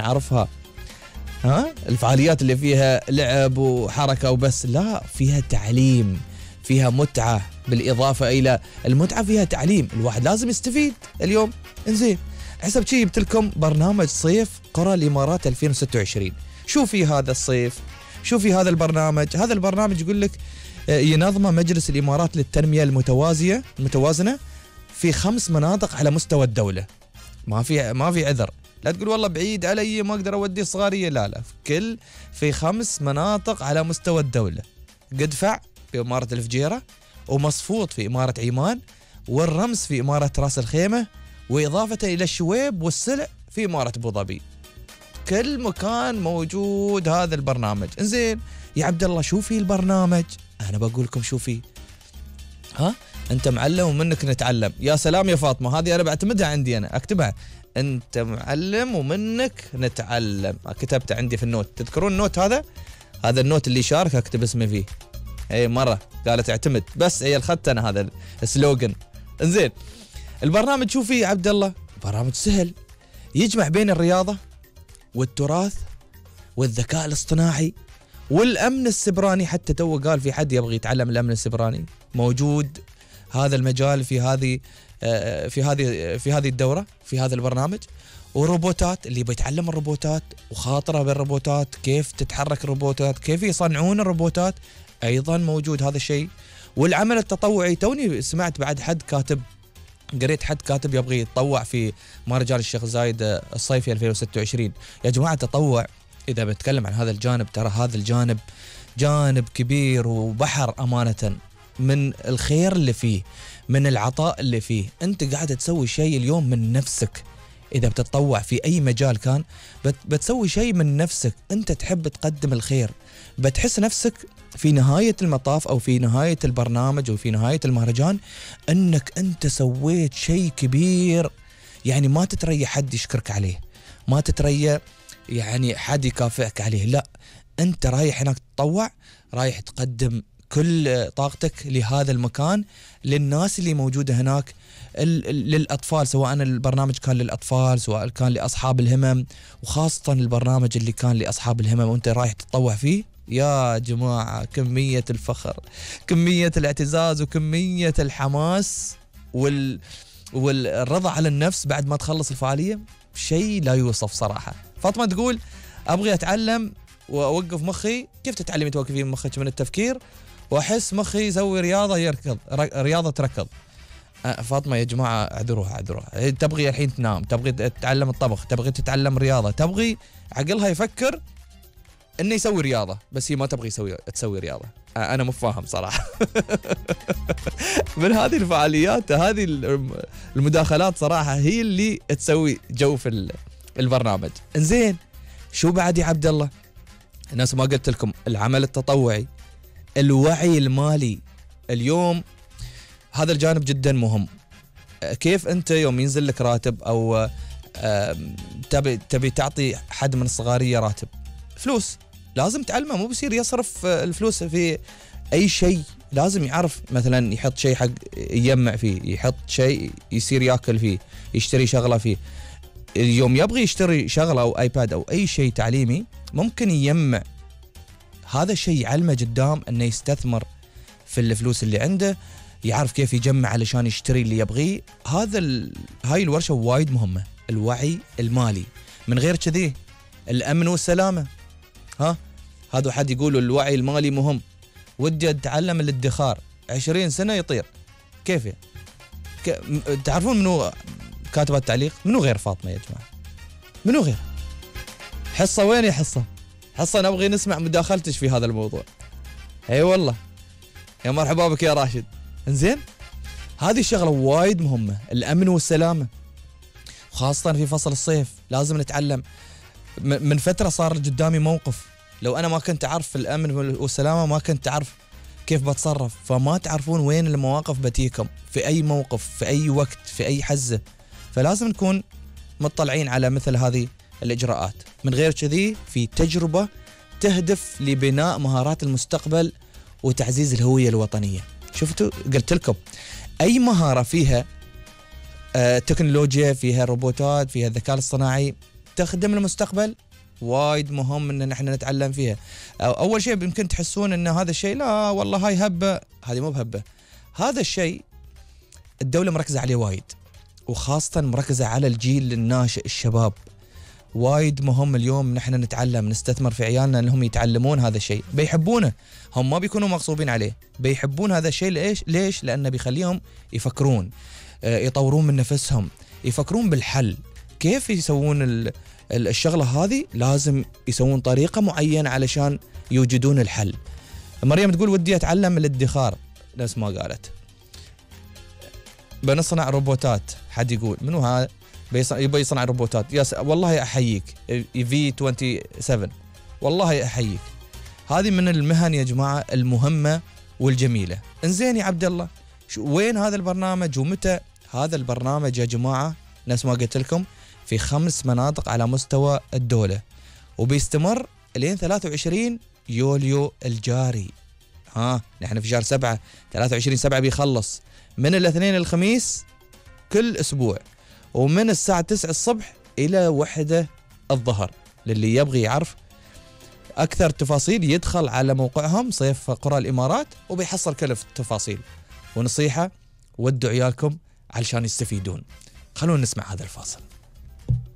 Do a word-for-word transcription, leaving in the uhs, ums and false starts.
نعرفها، ها الفعاليات اللي فيها لعب وحركة وبس، لا فيها تعليم، فيها متعة، بالإضافة إلى المتعة فيها تعليم، الواحد لازم يستفيد اليوم. انزين حسب شي جبت لكم برنامج صيف قرى الإمارات ألفين وستة وعشرين. شو في هذا الصيف؟ شو في هذا البرنامج؟ هذا البرنامج يقول لك ينظمه مجلس الإمارات للتنمية المتوازية المتوازنة في خمس مناطق على مستوى الدولة. ما في ما في عذر، لا تقول والله بعيد علي ما اقدر اودي صغاريه، لا لا، في كل في خمس مناطق على مستوى الدولة: قدفع في إمارة الفجيرة، ومصفوط في إمارة عمان، والرمس في إمارة راس الخيمة، وإضافة إلى الشويب والسلع في إمارة أبو ظبي. كل مكان موجود هذا البرنامج. انزين يا عبد الله شو في البرنامج؟ أنا بقول لكم شو في. ها أنت معلم ومنك نتعلم. يا سلام يا فاطمة، هذه أنا بعتمدها عندي، أنا أكتبها. أنت معلم ومنك نتعلم، كتبت عندي في النوت. تذكرون النوت هذا؟ هذا النوت اللي شارك أكتب اسمي فيه. أي مرة قالت اعتمد، بس هي الخط أنا هذا السلوغن. انزين البرنامج شو فيه يا عبد الله؟ برنامج سهل، يجمع بين الرياضة والتراث والذكاء الاصطناعي والأمن السبراني. حتى تو قال في حد يبغى يتعلم الأمن السبراني، موجود هذا المجال في هذه في هذه في هذه الدورة، في هذا البرنامج. وروبوتات، اللي بيتعلم الروبوتات وخاطره بالروبوتات، كيف تتحرك الروبوتات، كيف يصنعون الروبوتات، أيضا موجود هذا الشيء. والعمل التطوعي، توني سمعت بعد حد كاتب، قريت حد كاتب يبغى يتطوع في مهرجان الشيخ زايد الصيفي ألفين وستة وعشرين. يا جماعة التطوع إذا بتكلم عن هذا الجانب، ترى هذا الجانب جانب كبير وبحر أمانة، من الخير اللي فيه، من العطاء اللي فيه. أنت قاعد تسوي شيء اليوم من نفسك. إذا بتتطوع في أي مجال كان بتسوي شيء من نفسك، أنت تحب تقدم الخير، بتحس نفسك في نهاية المطاف أو في نهاية البرنامج أو في نهاية المهرجان أنك أنت سويت شيء كبير. يعني ما تتريى حد يشكرك عليه، ما تتريى يعني حد يكافئك عليه، لا، أنت رايح هناك تتطوع، رايح تقدم كل طاقتك لهذا المكان، للناس اللي موجودة هناك، للأطفال، سواء البرنامج كان للأطفال سواء كان لأصحاب الهمم، وخاصة البرنامج اللي كان لأصحاب الهمم وأنت رايح تتطوع فيه. يا جماعة كمية الفخر، كمية الاعتزاز، وكمية الحماس وال... والرضا على النفس بعد ما تخلص الفعالية، شيء لا يوصف صراحة. فاطمة تقول أبغي أتعلم وأوقف مخي. كيف تتعلمي توقفين مخك من التفكير وأحس مخي يسوي رياضة يركض رياضة تركض؟ فاطمة يا جماعة اعذروها اعذروها، تبغي الحين تنام، تبغي تتعلم الطبخ، تبغي تتعلم رياضة، تبغي عقلها يفكر انه يسوي رياضة، بس هي ما تبغي يسوي تسوي رياضة. انا مو فاهم صراحة. من هذه الفعاليات، هذه المداخلات صراحة هي اللي تسوي جو في البرنامج. انزين شو بعد يا عبد الله؟ الناس ما قلت لكم العمل التطوعي، الوعي المالي. اليوم هذا الجانب جدا مهم. كيف انت يوم ينزل لك راتب او تبي تبي تعطي حد من الصغارية راتب، فلوس، لازم تعلمه، مو بصير يصرف الفلوس في اي شيء، لازم يعرف مثلا يحط شيء حق يجمع فيه، يحط شيء يصير ياكل فيه، يشتري شغلة فيه. اليوم يبغي يشتري شغلة او ايباد او اي شيء تعليمي، ممكن يجمع هذا الشيء، يعلمه قدام انه يستثمر في الفلوس اللي عنده، يعرف كيف يجمع علشان يشتري اللي يبغيه. هذا ال... هاي الورشة وايد مهمة، الوعي المالي. من غير كذي الأمن والسلامة. ها هذا حد يقول الوعي المالي مهم، ودي أتعلم الادخار، عشرين سنة يطير. كيف يعني؟ ك... تعرفون منو كاتب التعليق؟ منو غير فاطمة يا جماعة؟ منو غير؟ حصة وين يا حصة؟ حصة نبغي نسمع مداخلتش في هذا الموضوع. اي والله يا مرحبا بك يا راشد. انزين هذه الشغلة وايد مهمة، الأمن والسلامة، خاصة في فصل الصيف لازم نتعلم. من فترة صار قدامي موقف، لو أنا ما كنت أعرف الأمن والسلامة ما كنت أعرف كيف بتصرف. فما تعرفون وين المواقف بتيكم في أي موقف، في أي وقت، في أي حزة، فلازم نكون مطلعين على مثل هذه الإجراءات. من غير كذي في تجربة تهدف لبناء مهارات المستقبل وتعزيز الهوية الوطنية. شفتوا قلت لكم أي مهارة فيها آه تكنولوجيا، فيها روبوتات، فيها الذكاء الاصطناعي، تخدم المستقبل وايد مهم ان نحن نتعلم فيها. اول شيء يمكن تحسون ان هذا الشيء لا والله هاي هبه، هذه مو بهبه، هذا الشيء الدوله مركزه عليه وايد، وخاصه مركزه على الجيل الناشئ الشباب. وايد مهم اليوم نحن نتعلم، نستثمر في عيالنا انهم يتعلمون هذا الشيء، بيحبونه، هم ما بيكونوا مغصوبين عليه، بيحبون هذا الشيء. ليش؟ ليش؟ لانه بيخليهم يفكرون، يطورون من نفسهم، يفكرون بالحل. كيف يسوون الشغله هذه؟ لازم يسوون طريقه معينه علشان يوجدون الحل. مريم تقول ودي اتعلم الادخار، نفس ما قالت. بنصنع روبوتات، حد يقول منو هذا يبي يصنع روبوتات؟ يا والله احييك في سبعة وعشرين، والله احييك. هذه من المهن يا جماعه المهمه والجميله. انزين يا عبد الله، وين هذا البرنامج ومتى؟ هذا البرنامج يا جماعه نفس ما قلت لكم في خمس مناطق على مستوى الدوله، وبيستمر لين ثلاثة وعشرين يوليو الجاري. ها نحن في شهر سبعة، ثلاثة وعشرين سبعة بيخلص، من الاثنين الخميس كل اسبوع، ومن الساعة تسعة الصبح إلى واحدة الظهر. للي يبغي يعرف أكثر تفاصيل يدخل على موقعهم صيف قرى الإمارات وبيحصل كل التفاصيل. ونصيحة، ودوا عيالكم علشان يستفيدون. خلونا نسمع هذا الفاصل.